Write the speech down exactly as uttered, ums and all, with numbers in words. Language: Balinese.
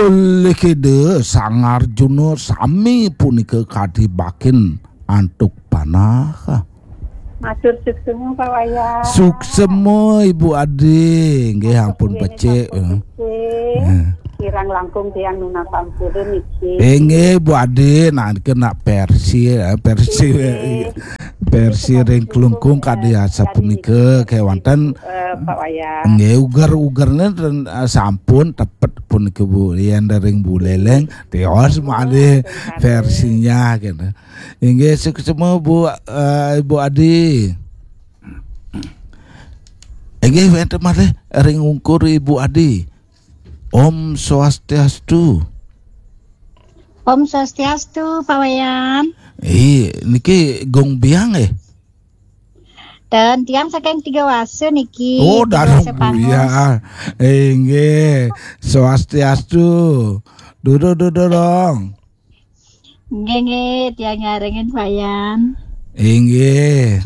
Olih keda Sang Arjuna sami punika kadi bakin antuk panah. Matur suksma, Pak Wayan. Suksma, Ibu Adi. Nggih, ampun becik. Becik. Eh. Kirang langkung tiang nunas ampura niki. Inggih, Bu Adi, nah, niki nak versi, eh, versi, inggih, versi ring Klungkung kadi asapunika, eh, kewanten, eh, Pak Wayan. Nggih, uger-ugerne ten, eh, sampun tepet punika, Bu. Yen ring Bu Leleng, tios malih versinya, gitu. Inggih, suksma, Bu, eh, Ibu Adi. Inggih, wenten malih ring ungkur Ibu Adi. Om Swastiastu. Om Swastiastu, Pak Wayan. Ih, niki Gung Biang, eh? Dan tiang saking Tiga Wasa niki, Oh, Tiga Wasa Pangos. Buya. Inggih, Swastiastu. Dudu, dudu, dong. Nggih, nggih, tiang nyarengin, Pak Wayan. Inggih.